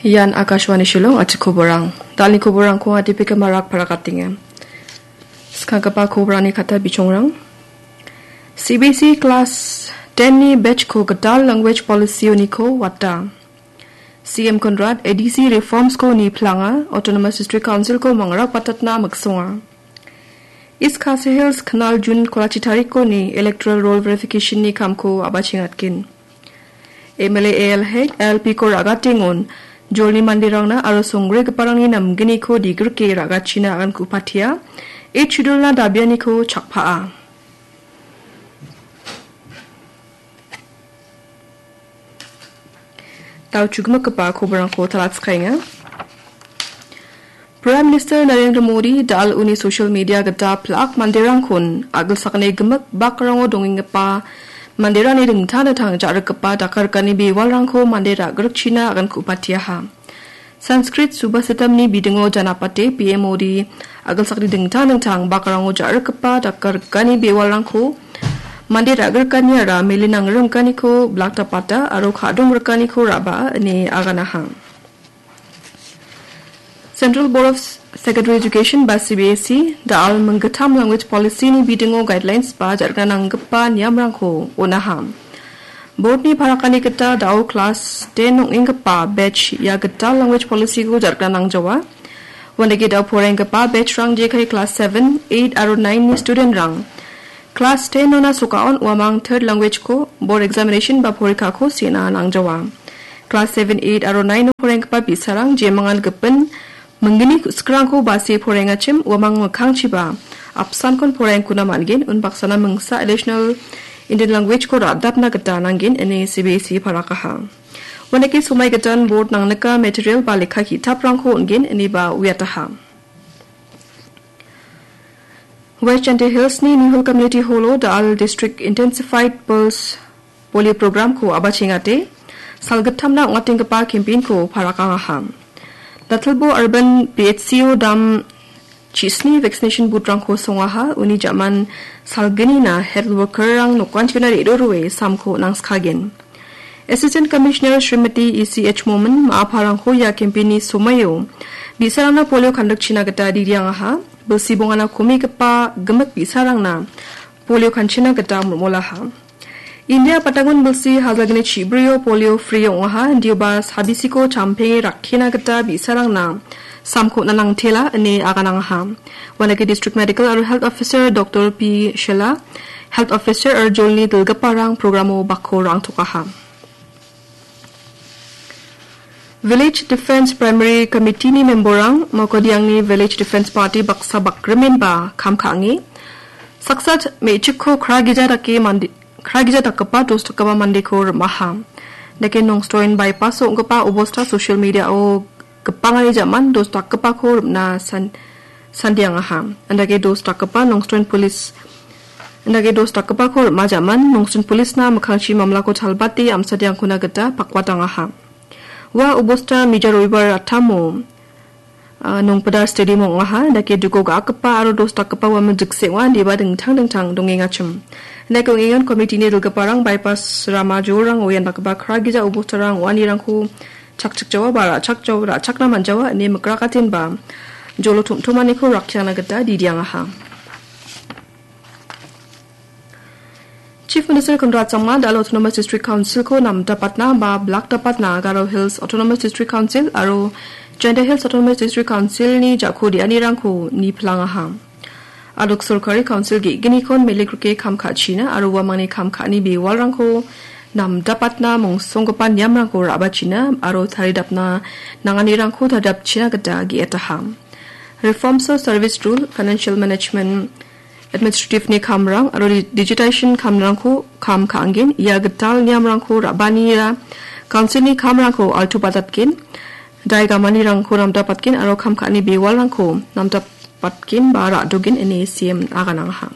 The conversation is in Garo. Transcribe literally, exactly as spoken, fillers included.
Ian Akashvani Shillong, atikoborang. Dalni koborangko atipikamarak parakatenga. Skanggipa koborani kata bichongrang. C B C class ten ni batch ko gital language policy uniko wata. C M Conrad A D C reforms ko ni planga, Autonomous District Council ko mangrak patatna miksonga. East Khasi Hills Khanal June kolachi tariko ni electoral roll verification ni kamko abachengatgen. M L A A L Hek, L P ko ragatengon, jolni manderangna aro songgrigiparangni namgniko digrike ragachina agankupatia, Eighth Schedule na dabianiko chakpaa. Dao chugimikgipa koborangko talatskaenga. Prime Minister Narendra Modi dal uni social media gita plak manderangkon agilsakni gimik bakrango dongenggipa manderangni dingtang dingtang ja·rikgipa dakarikani bewalrangko mande ra·grikchina agankupateaha. Sanskrit Subhasitamni bidingo janapate P M Modi agilsakni dingtang dingtang bakrango ja·rikgipa dakarikani bewalrangko mande ra·grikaniara mele nangrimganiko blaktapata aro ka·dongrikaniko ra·baa ine aganaha. Central Board of Secondary Education ba C B S E da·al minggittam language policy ni bidingo guidelines ba jarga nanggipa niamrangko onaha. Board ni parakani gita dao class ten ong·enggipa batch ia gital language policy ko jarga nangjawa. Uandake dao poraienggipa batch rang jekai class seven, eight aro nine ni student rang class ten ona sokaon uamang third language ko board examination ba porikako sena nangjawa. Class seven, eight aro nine o poraienggipa bi·sarang jemangan gipin minggni ku·sikrangko base porengachim uamang mikkangchiba apsankon porengkuna man·gen, unbaksana mingsa additional Indian language ko ra·dapna gita nanggen ine C B S E parakaha. Uandake somai gitan board nangnika material ba lekka ki·taprangko on·gen ineba uiataha. West Jaintia Hills ni Nihul Community Hall o da·al District Intensified Pulse Polio Program ko abachengate, salgittamna ong·atenggipa campaign ko parakangaha. Datilbo Urban P H C o dam chisni vaccination booth rangko songaha, uni jaman salgnina health worker rang nokkanchina re·rurue samko nangskagen. Assistant Commissioner Srimati E C H Momin ma·aparangko ia campaign-ni somoio bi·sarangna polio kandikchina gita diriangaha, bilsi bongana komigipa gimik bi·sarangna polio kanchina gita mol·molaha. India patangon bilsi hajalgni chibrio polio free ong·aha, indioba sabisiko champenge rakkina gita bi·sarangna samko on·na nangtela ine aganangaha. Uandake District Medical aro Health Officer Doctor P Shela, Health Officer aro jolni dilgiparang programo bakko rangtokaha. Village Defence Primary Committee ni member-rang Mokodiangni Village Defence Party baksa bakrimenba kam ka·ange. Saksa me·chikko kragija dake mande, kragija dakgipa dos dakgipa mandeko rim·aha. Dake Nongstoin bypass-o ong·gipa obosta social media-o gipangani jaman dos dakgipako rim·na san-, sandiangaha. Indake dos dakgipa Nongstoin Police, indake dos dakgipako rim·a jaman Nongstoin Police-na mikkangchi mamlako chalbate amsadiangkona gita pakwatangaha. Ua obosta mija roibar attamo, ah, Nongpidar Stadium ong·aha. Indake duko ga·akgipa aro dos dakgipa uamang jikse ong·a, indiba dingtang dingtang dongengachim. Indake ong·engan committee-ni dilgiparang bypass rama jolrango ian dakgipa kragija obostarang ong·anirangko chakchikjawa ba ra·chakjawa, ra·chakna man·jawa ine mikrakatenba jolo tom·tomaniko rakkiangna gita didiangaha. Chief Minister Conrad Sangma da·al Autonomous District Council-ko namdapatna ba blakdapatna Garo Hills Autonomous District Council aro Jaintia Hills Autonomous District Council-ni jako de·anirangko niplangaha. Adok sorkari council ge·gnikon melikrike kam ka·china aro uamangni kam ka·ani bewalrangko namdapatna mongsonggipa niamrangko ra·bachina aro taridapna nanganirangko taridapchina gita ge·etaha. Reforms of Service Rule, Financial Management, Administrative-ni kamrang aro di-, digitization kamrangko kam ka·angen, ia gital niamrangko ra·banira council-ni kamrangko altubatatgen, daigamanirangko namdapatgen aro kam ka·ani bewalrangko namdapatgen ba ra·dogen ine C M aganangaha.